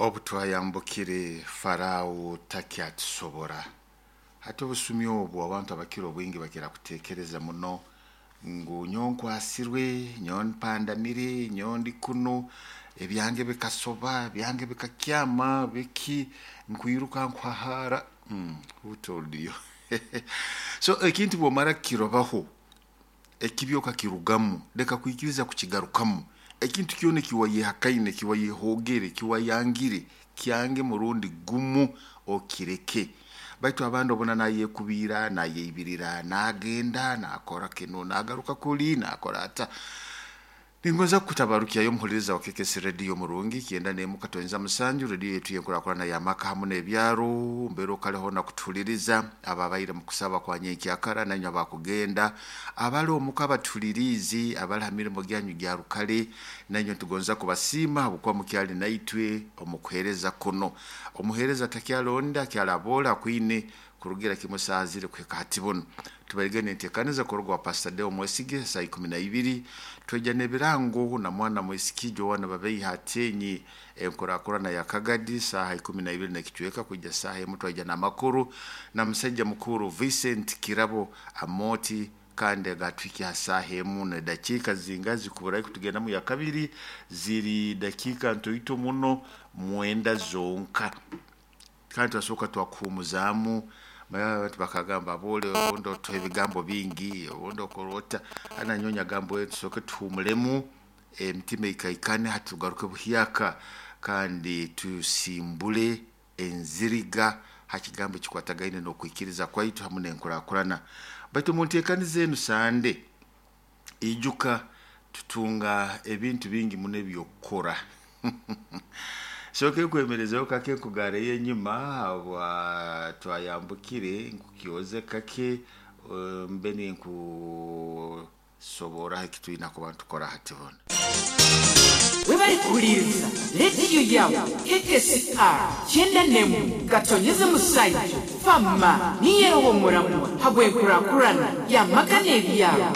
Obu twayambukire Farao takyatusobora. Hati obusumi obu abantu abakira obwingi bakira kutekereza muno ngu nyowe nkwasirwe, nyowe mpandamire, nyowe ndi kunu, ebyange bikasoba, ebyange bikakyama, biki, nkwiruka nkuhahaara. Who told you? So ekintu bwomara kukirobaho, ekibi okakirugamu, leka kwikiriza kukigarukamu. Ekintu kyona ekiwayehakaine, ekiwayehogere, ekiwayangire, kyange murundi gumu okireke. Baitu abandi obona nayekubiira, nayeibirira, nagenda, nakora kinu, nagaruka kuli, nakora ata. Ningonza kukutabarukyayo omuhuliriza wa KKC Radio murungi 91.7 radio yetu yenkurakurana y'amaka hamu n'ebyaro mbeera okaleho nakutuhuliriza ababaire mu kusaba kwa nyenkyakara nanywe abakugenda abali omuka abatuhuliriizi abali ha mirimo gyanyu gya rukale nanywe ntugonza kubasiima habwokuba mukyali naitwe omu kuheereza kuno. Omuheereza takyalonda akyalaboole akwine kurugira kimu saaha ziri kuhika hati bunu. Tubairege n'enteekaniza kuruga wa Pastor Deo Mwesige saa 12 twija n'ebirango na mwana mwisiki Joana Babeiha Atenyi enkurakurana ya Kagadi saaha 12 n'ekicweka kwija saaha emu twaija n'amakuru na musaija mukuru Vincent Kirabo Amoti kandi agatwike ha saaha emu n'edakiika zinga zikuburayo kutugendamu ya kabiri ziri dakiika ntoito muno 9 zonka. Kandi twasooka twakuhumuzaamu abantu bakagamba boole obundi otuha ebigambo bingi obundi okora ota hati nanyowe nyagamba tusooke tuhumulemu emitima ikaikane hati tugaruke buhyaka kandi tusimbule enziriga ha kigambo ekikwatagaine n'okwikiriza kwaitu hamu n'enkurakurana. Baitu omu nteekaniza enu Sande, ijuka tutunga ebintu bingi muno eby'okukora. Sooke nkwemerezeho kake nkugareyo enyuma habwa twayambukire nkukyoze kake mbe ninkusoboraho ekitwina kuba nitukora hati bunu. Webale kuhuliriza rediyo yawe KKCR 91.7 fama niyeroho omuramwa habw'enkurakurana y'amaka n'ebyaro.